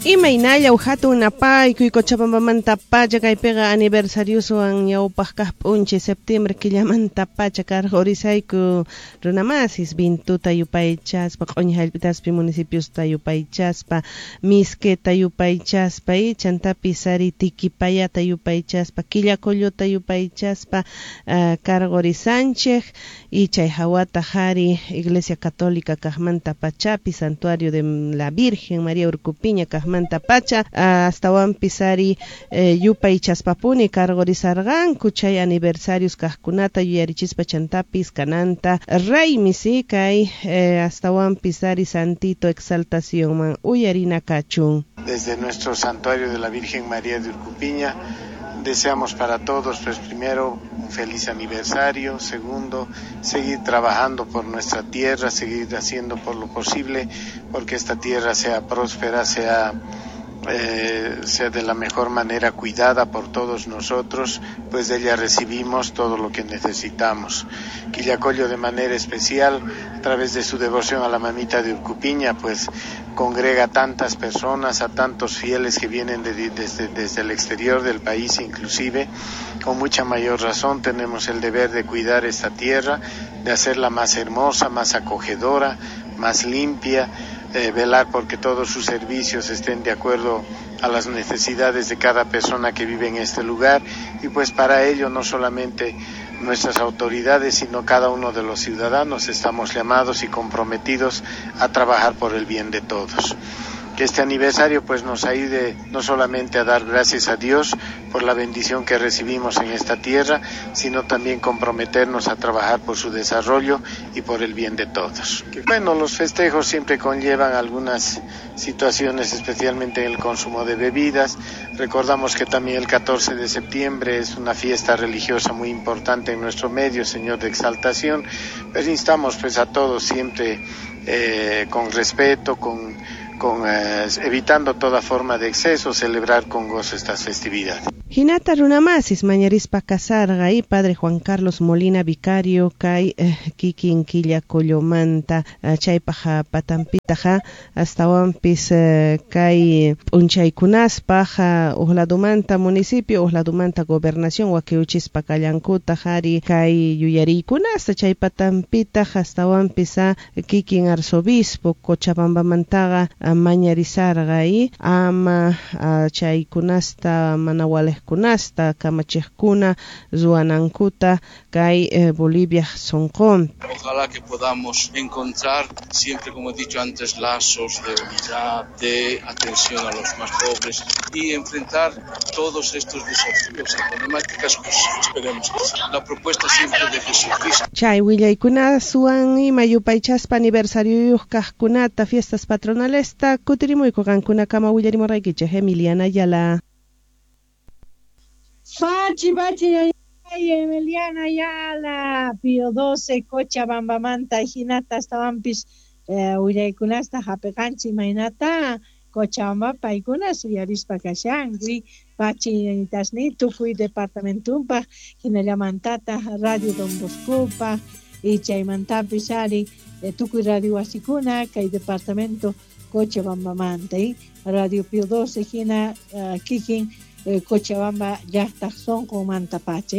Imaynalla hatun napaykuy Cochabambamanta pacha kaypiqa aniversarioswan ñawpaq kaq p'unchay septiembre killamanta pacha karqurisayku runamasis vintuta yupaychaspa q'uñi hallp'itaspi municipiosta yupaychaspa misketa yupaychaspa y chantapis ari Tiquipayata yupaychaspa Quillacolluta yupaychaspa karqurisanchik y chay hawata ari Iglesia Católica kaqmanta pachapi Santuario de la Virgen María Urcupiña kaqmanta pacha astawanpis ari yupaychaspapuni karqurisarqanku chay aniversarios kaqkunata yuyarichispa chantapis kananta raymi si kay astawanpis ari Santito exaltacionman uyarina kachun. Desde nuestro santuario de la Virgen María de Urcupiña deseamos para todos, pues primero, un feliz aniversario, segundo, seguir trabajando por nuestra tierra, seguir haciendo por lo posible porque esta tierra sea próspera, sea de la mejor manera cuidada por todos nosotros, pues de ella recibimos todo lo que necesitamos. Quillacollo de manera especial, a través de su devoción a la mamita de Urcupiña, pues congrega a tantas personas, a tantos fieles que vienen desde el exterior del país inclusive. Con mucha mayor razón tenemos el deber de cuidar esta tierra, de hacerla más hermosa, más acogedora, más limpia, velar porque todos sus servicios estén de acuerdo a las necesidades de cada persona que vive en este lugar, y pues para ello no solamente nuestras autoridades, sino cada uno de los ciudadanos estamos llamados y comprometidos a trabajar por el bien de todos. Que este aniversario pues nos ayude no solamente a dar gracias a Dios por la bendición que recibimos en esta tierra, sino también comprometernos a trabajar por su desarrollo y por el bien de todos. Bueno, los festejos siempre conllevan algunas situaciones, especialmente en el consumo de bebidas. Recordamos que también el 14 de septiembre es una fiesta religiosa muy importante en nuestro medio, Señor de Exaltación. Pero instamos pues a todos siempre con respeto, con evitando toda forma de exceso, celebrar con gozo estas festividades. Hinata runamasis mañarispa kasarqa y padre Juan Carlos Molina vicario kay kikin Quillacollomanta chaypaq patanpitaqa astawanpis kay p'unchaykunaspaq uqladumanta municipio uqladumanta gobernación wakiuchispa kallankutaq ari kay yuyariykunasta chay patanpitaq astawanpis kikin arzobispo Cochabambamantaqa mañarisarqa y ama chaykunasta mana waliqkunasta kamachiqkuna ruwanankuta kay Bolivia sonqon. Ojalá que podamos encontrar siempre, como he dicho antes, lazos de unidad, de atención a los más pobres y enfrentar todos estos desafíos y problemáticas, pues esperemos que sí. La propuesta siempre de Jesucristo. Chay willaykuna suwan ima yupaychaspa aniversarioyuq kaqkunata fiestas patronales kutirimuyku qankunakama willarimurqaykichik Emiliana Ayala. Pachi, pachi, Emiliana Ayala, Pío XII, Cochabambamanta, hinata astawanpis willaykunasta hapiqanchik imaynata Cochabamba paykuna suyarispa kashanku pachi tasni tukuy departamentunpaq hinallamantata Radio Don Boscopaq y chaymantapis ari tukuy radio wasikuna kay departamento Cochabambamanta Radio Pío XII hina kikin Cochabamba llaqtaq sunqunmanta pacha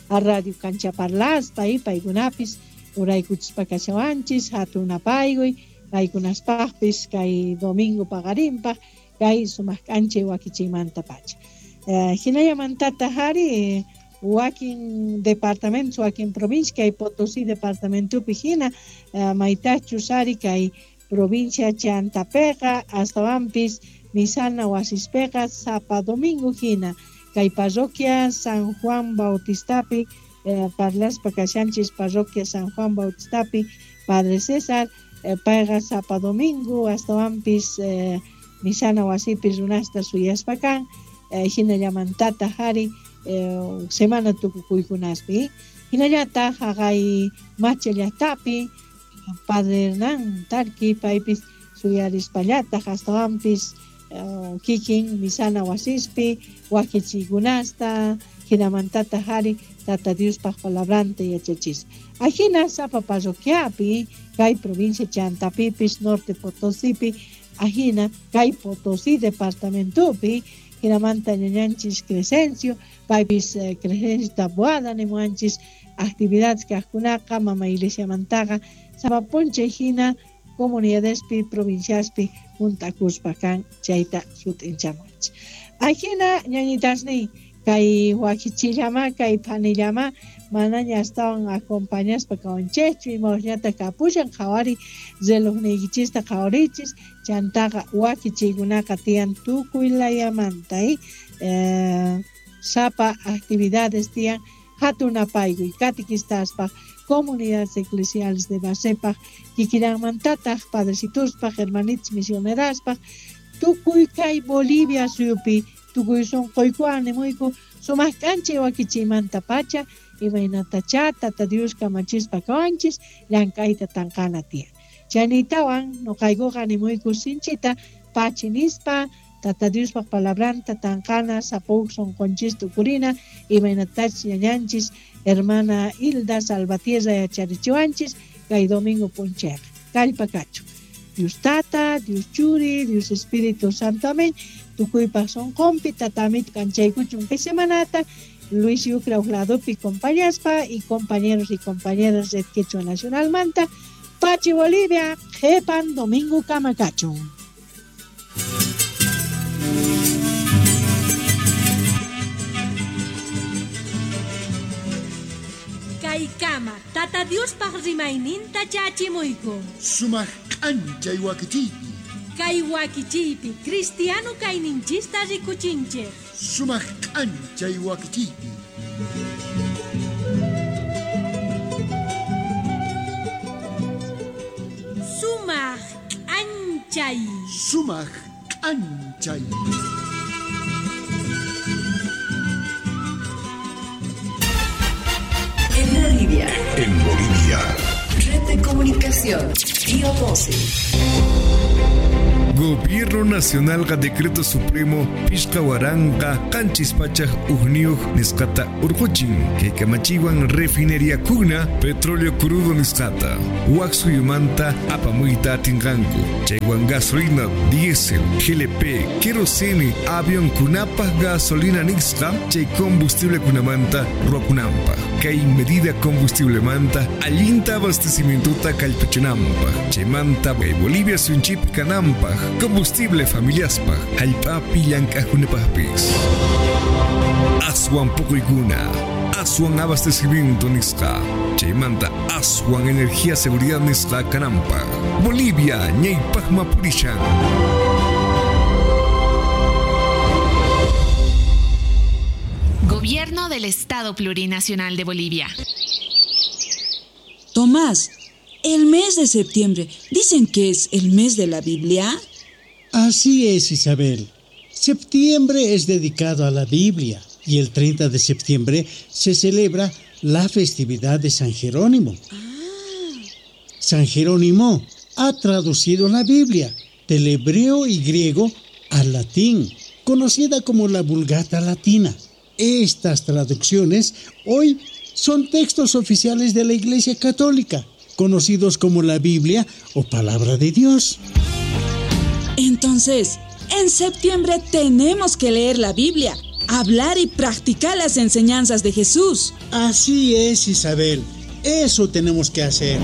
a Radio Canchaparlaspa paykunapis uraykuchispa kashawanchis hatun napaykuy paykunaspaqpis kay domingo paqarinpaq kay sumaq k'anchay wakichiymanta pacha hinallamantata ari wakin departamentos wakin provincia kay Potosí departamentopi hina maytachus ari kay provincia Chantapeqa astawanpis misana wasispeqa sapa domingo hina kay parroquia San Juan Bautistapi parlaspa kashanchis parroquia San Juan Bautistapi Padre César payqa sapa domingo astawanpis misana wasipi runasta suyaspa kan hinallamantata hari semana tukukuykunaspi hinallataq haqay macha llaqtapi Padre Hernán Tarqui paypis suyarispallataq astawanpis kikin misana wasispi wakichiykunasta hinamantata hari Tata Diospaq palabranta yachachispa ajina sapa parroquiapi kay provincia Chantapipis Norte Potosípi Ajina kay Potosí departamentopi hinamanta ñañanchis Crescencio paypis Crescencio Taboada nimuanchis actividades kaqkunaqa mama iglesiamantaqa sapa p'unchay hina comunidadespi provinciaspi juntakuspa kan chayta sut'inchamuanchis. Ajina ñañitasniy kay wakichillama kay phanillama manaña astawan acompañaspa kawanchikchu imawasñata kapushan qhawari relojniykichista qhawarichis chantaqa wakichiykunaqa tiyan tukuy layamanta sapa actividades tiyan hatunapaykuy catequistaspaq comunidades eclesiales de basepaq kikillanmantataq padrecituspaq hermanitas misioneraspaq tukuy kay Bolivia suyupi tukuy sunquykuwan nimuyku sumaq k'anchay wakichiymanta pacha imaynatacha Tata Dios kamachispa kawanchis llank'ayta tanqana tiyan. Chaynitawan nuqaykuqa nimuyku sinchita pachi nispa Tata Diospaq palabranta tanqana sapa huk sunqunchista ukurina imaynatachis ñañanchis hermana Hilda Salvatierra yacharichiwanchis kay domingo p'unchayqa kallpa kachun. Dios Tata, Dios Churi, Dios Espíritu Santo, amén. Tukuypaq sunqunpi tatamit k'anchaykuchun kay semanata Luis Yucra uqladopi compañaspa y compañeros y compañeras Red Quechua Nacional manta Pachi Bolivia, qhipan domingo kama kachun. Kaykama Tata Diospaq rimayninta chachimuyku. Sumaq k'anchay wakichiypi. Kay wakichiypi cristiano kayninchista rikuchinchik. Sumaq k'anchay wakichiypi. Sumaq k'anchay. Sumaq k'anchay. En Bolivia. En Bolivia. Red de Comunicación. Pío 12. Gobierno Nacional ga Decreto Supremo Pishqa waranqa qanchis pachaq hukniyuq nisqata urquchin kay kamachiwan refinería kuna petróleo crudo nisqata wak suyumanta apamuyta atinqanku chaywan gasolina diésel GLP kerosene avión kunapaq gasolina nisqa chay combustible kunamanta ruwakunanpaq kay medida combustiblemanta allinta abastecimientuta kallpachinanpaq chaymanta kay Bolivia suyunchikpi kananpaq combustible familiaspaq hallp'api llank'aqkunapaqpis aswan puquykuna aswan abastecimiento nisqa chaymanta aswan energía seguridad nisqa kananpaq Bolivia ñaypaqma purishan. Gobierno del Estado Plurinacional de Bolivia. Tomás, el mes de septiembre, ¿dicen que es el mes de la Biblia? Así es, Isabel. Septiembre es dedicado a la Biblia y el 30 de septiembre se celebra la festividad de San Jerónimo. San Jerónimo ha traducido la Biblia del hebreo y griego al latín, conocida como la Vulgata Latina. Estas traducciones hoy son textos oficiales de la Iglesia Católica, conocidos como la Biblia o Palabra de Dios. Entonces, en septiembre tenemos que leer la Biblia, hablar y practicar las enseñanzas de Jesús. Así es, Isabel. Eso tenemos que hacer.